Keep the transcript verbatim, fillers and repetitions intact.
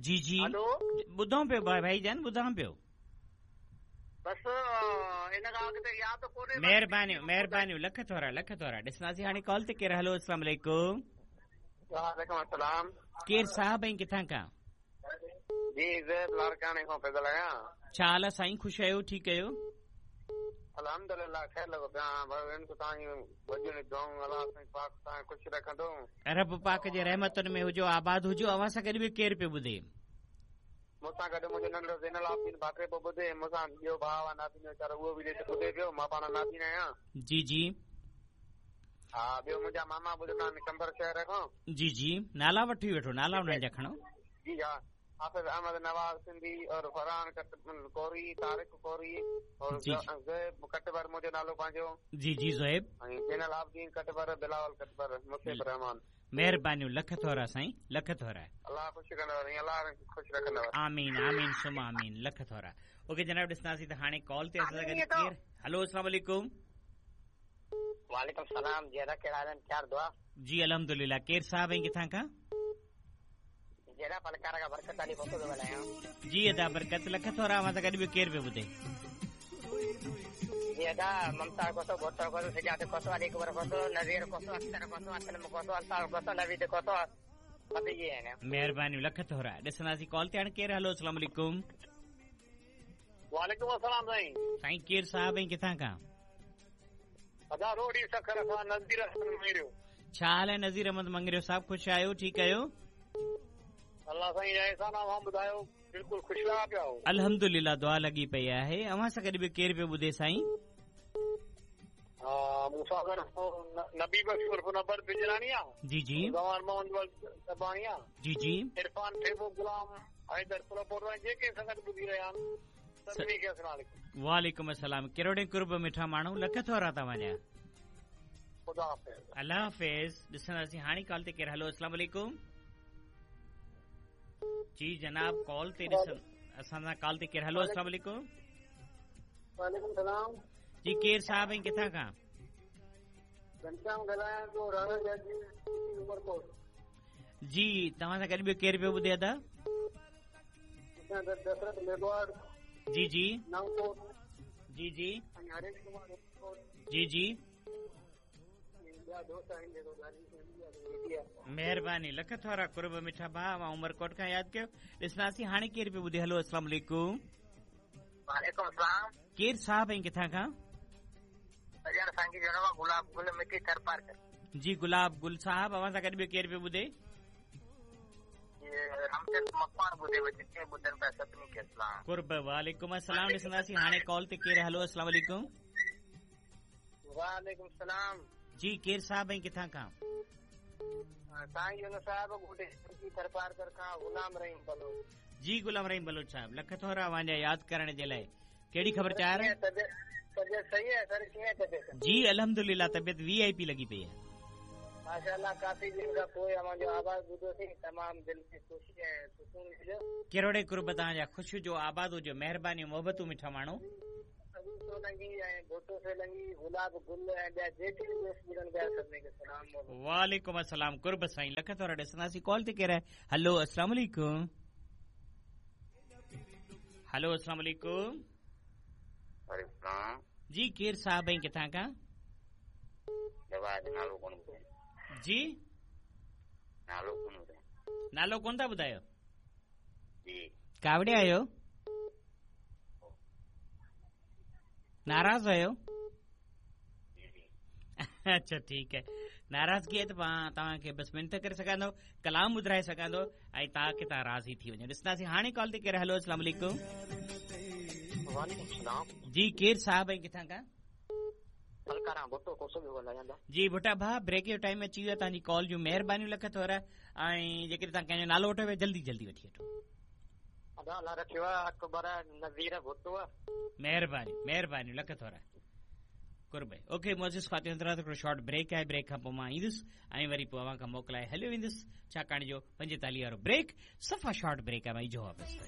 जी जी hello ॿुधां पियो भाई जान ॿुधां पियो। बसि इन खां अॻिते यादि कोन्हे। महिरबानियूं महिरबानियूं लख थोरा लख थोरा। ॾिसंदासीं हाणे कॉल ते केरु। हलो अस्सलाम वालेकुम। वालेकुम अस्सलाम। केरु साहब ऐं किथां खां? जी ज़ैब लाड़काणे खां पियो ॻाल्हायां। छा हाल आहे साईं, ख़ुशि आहियो, ठीकु आहियो? अल्हम्दुलिल्लाह ख़ैर लॻो पियो आहियां। भॻवान तव्हांजी वॾियूं दुआऊं अल्लाह साईं पाक तव्हांखे ख़ुशि रखंदो। रब पाक जे रहमतुनि में हुजो, आबाद हुजो। अव्हां सां गॾु बि केरु पियो ॿुधे? मूंसां गॾु मुंहिंजो नंढो ज़ैनुल आबिदीन भाकरे पियो ॿुधे। मूंसां ॿियो भाउ आहे नाबीन वीचारो उहो बि ॿुधे पियो। मां पाण नाबीन आहियां। जी जी हा ॿियो मुंहिंजा मामा ॿुधंदा आहिनि कंबर शहर खां। जी जी नाला वठी वेठो, नाला उन्हनि जा खणो। जी हा हाफ़िज़ अहमद नवाज़ सिंधी और फरहान कोरी, तारिक कोरी और ज़ुहैब कटबर मुंहिंजो नालो पंहिंजो। जी जी ज़ुहैब ऐं ज़ैनुल आबिदीन कटबर, बिलावल कटबर, मुसीब रहमान। महिरबानियूं लख थोरा साईं, लख थोरा। अल्लाह ख़ुशि कंदव, अल्लाह ख़ुशि रखंदव। आमीन आमीन सुम आमीन, लख थोरा। ओके जनाब ॾिसंदासीं त हाणे कॉल ते असां गॾु केरु। हलो अस्सलाम वालेकुम। वालेकुम सलाम। जी अदा कहिड़ा आहिनि? चार दुआ। जी अल्हम्दुलिल्लाह। केरु साहब ऐं किथां खां? जहिड़ा पलकार खां बरकत अली भुट्टो थो ॻाल्हायां। जी अदा बरकत, लख थोरा। अव्हां सां गॾु ॿियो केरु पियो ॿुधे? जी अदा ममता कोसो, भुट्टो कोसो, सजाद कोसो, अली अकबर कोसो, नज़ीर कोसो, अख्तर कोसो, असलम कोसो, अल्ताफ़ कोसो, नवीद कोसो। महिरबानी लख थोरा। ॾिसंदासीं कॉल ते हाणे केरु। हलो अस्सलाम वालेकुम। वालेकुम अस्सलाम साईं। साईं केरु साहब ऐं किथां खां? अदा रोडी सखर खां नज़ीर अहमद मंगरियो। छा हाल आहे नज़ीर अहमद मंगरियो साहब, ख़ुशि आहियो, ठीकु आहियो? अल्लाह साईं जा एहसान अव्हां ॿुधायो, बिल्कुलु ख़ुशि लॻा पिया हो? अल्हम्दुलिल्लाह दुआ लॻी पई आहे। अव्हां सां गॾु बि केरु पियो ॿुधे साईं? हा मूंसां गॾु नबी बख़्श उर्फ़ नबर बिजरानी आहे। जी जी गवार मोहन सबाणी आहे। जी जी इरफान ठेबो, गुलाम हैदर पुलपोर जेके सां गॾु ॿुधी रहिया आहिनि सभिनी खे अस्सलाम वालेकुम। वालेकुम अस्सलाम। किरोड़े कुर्ब मिठा माण्हू, लख थोरा तव्हांजा। ख़ुदा हाफ़िज़। अल्लाह हाफ़िज़। ॾिसंदासीं हाणे कॉल ते केरु। हलो अस्सलाम वालेकुम। जी जनाब कॉल ते ॾिसनि असां सां कॉल ते केरु। हलो अस्सलाम वालेकुम। वालेकुम सलाम। जी केरु साहब ऐं किथां खां? घनश्याम ॻाल्हायां थो, राणा जी उमरकोट। जी तव्हां सां गॾु ॿियो केरु पियो ॿुधे अदा? दशरथ मेघवाड़। जी जी नवकोट। जी जी ऐं हरेश कुमार जी जी महिरबानी लख थोरा कुर्ब मिठा भाउ। मां उमरकोट खां यादि कयो। ॾिसंदासीं हाणे केरु पियो ॿुधे। हलो अस्सलाम वालेकुम। वालेकुम सलाम। केरु साहब ऐं किथां खां? गुलाब गुल मिठी थरपारकर। जी गुलाब गुल साहब अव्हां सां गॾु ॿियो केरु पियो ॿुधे? कुर्ब वालेकुम अस्सलाम। ॾिसंदासीं हाणे कॉल ते केरु। हलो अस्सलाम वालेकुम। वालेकुम सलाम। जी केरु साहब ऐं किथां खां? साईं यूनुस साहब थरपारकर खां गुलाम रहीम बलोच। जी गुलाम रहीम बलोच साहब लख थोरा अव्हांजा यादि करण जे लाइ। कहिड़ी ख़बर चार? तबियत सही है सर? कीअं तबियत? जी अल्हम्दुलिल्लाह तबियत वी I P लॻी पई आहे। माशाअल्लाह काफ़ी ॾींहं खां पोइ अव्हांजो आवाज़ ॿुधोसीं, तमामु दिलि खे ख़ुशी ऐं सुकून मिलियो। किरोड़े कुर्ब तव्हांजा, ख़ुशि हुजो, आबाद हुजो, महिरबानी मोहबतूं मिठा माण्हू। सोलंगी ऐं भुट्टो सोलंगी, गुलाब गुल ऐं ॿिया जेके बि दोस्त ॿुधनि पिया सभिनी खे सलाम। वालेकुम अस्सलाम। कुर्ब साईं लख थोरा। ॾिसंदासीं कॉल ते केरु आहे। हलो अस्सलाम वालेकुम। हलो अस्सलाम वालेकुम। जी केरु साहब ऐं किथां खां? नालो कोन ॿुधायो। जी नालो कोन ॿुधायो। नालो कोन था ॿुधायो? जी कावड़िया आहियो? नाराज़ आहियो? अच्छा ठीकु आहे। नाराज़गी आहे त मां तव्हांखे बसि मिंत करे सघां थो, कलाम ॿुधाए सघां थो ऐं तव्हांखे तव्हां राज़ी थी वञो। ॾिसंदासीं हाणे कॉल ते केरु। हलो अस्सलाम वालेकुम। वालेकुम सलाम। जी केरु साहब ऐं किथां खां? जी भुट्टा भाउ ब्रेक जो टाइम अची वियो आहे, तव्हांजी कॉल जूं महिरबानियूं लख थोरा। ऐं जेकॾहिं तव्हां कंहिंजो नालो वठो पिया जल्दी जल्दी वठी वठो। महिरबानी महिरबानी लख थोरा कुर्ब। ओके मोजिस ख़ातिन हिकिड़ो शॉर्ट ब्रेक आहे, ब्रेक खां पोइ मां ईंदुसि ऐं वरी पोइ अव्हां खां मोकिलाए हलियो वेंदुसि, छाकाणि जो पंजेतालीह वारो ब्रेक सफ़ा शॉर्ट ब्रेक आहे। मां इहो वापसि।